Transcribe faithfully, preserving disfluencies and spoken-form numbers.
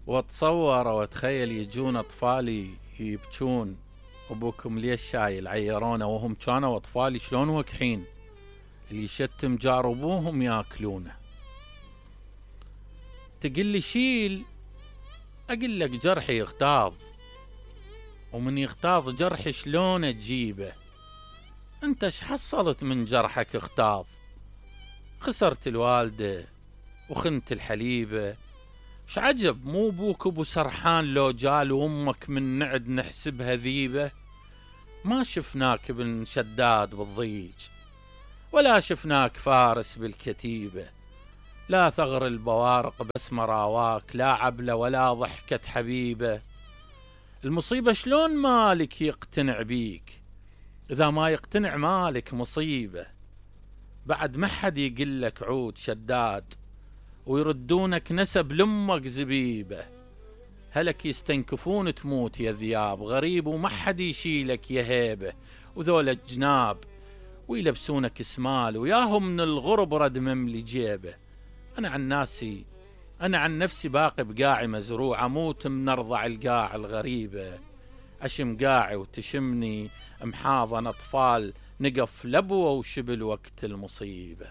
واتصور واتخيل يجون اطفالي يبكون، ابوكم ليش شايل عيرونه وهم كانوا اطفالي شلون وكحين، اللي يشتم جار ابوهم ياكلونه. تقل لي شيل، اقول لك جرحي يغتاظ، ومن يغتاظ جرح شلون تجيبه؟ انت ايش حصلت من جرحك اغتاظ؟ خسرت الوالدة وخنت الحليبة، شعجب مو بوك ابو سرحان لو جال وامك من نعد نحسبها ذيبة؟ ما شفناك ابن شداد بالضيج، ولا شفناك فارس بالكتيبة، لا ثغر البوارق بس مراواك، لا عبلة ولا ضحكة حبيبة. المصيبة شلون مالك يقتنع بيك؟ إذا ما يقتنع مالك مصيبة. بعد ما حد يقلك عود شداد، ويردونك نسب لأمك زبيبة. هلك يستنكفون تموت يا ذياب غريب، وما حد يشيلك يا هيبة. وذول الجناب ويلبسونك اسمال، وياهم من الغرب رد مملي جيبه. أنا عن ناسي أنا عن نفسي باقي بقاعي مزروع، أموت من أرضع القاع الغريبة. أشم قاعي وتشمني محاضن أطفال، نقف لبوة وشبل وقت المصيبة.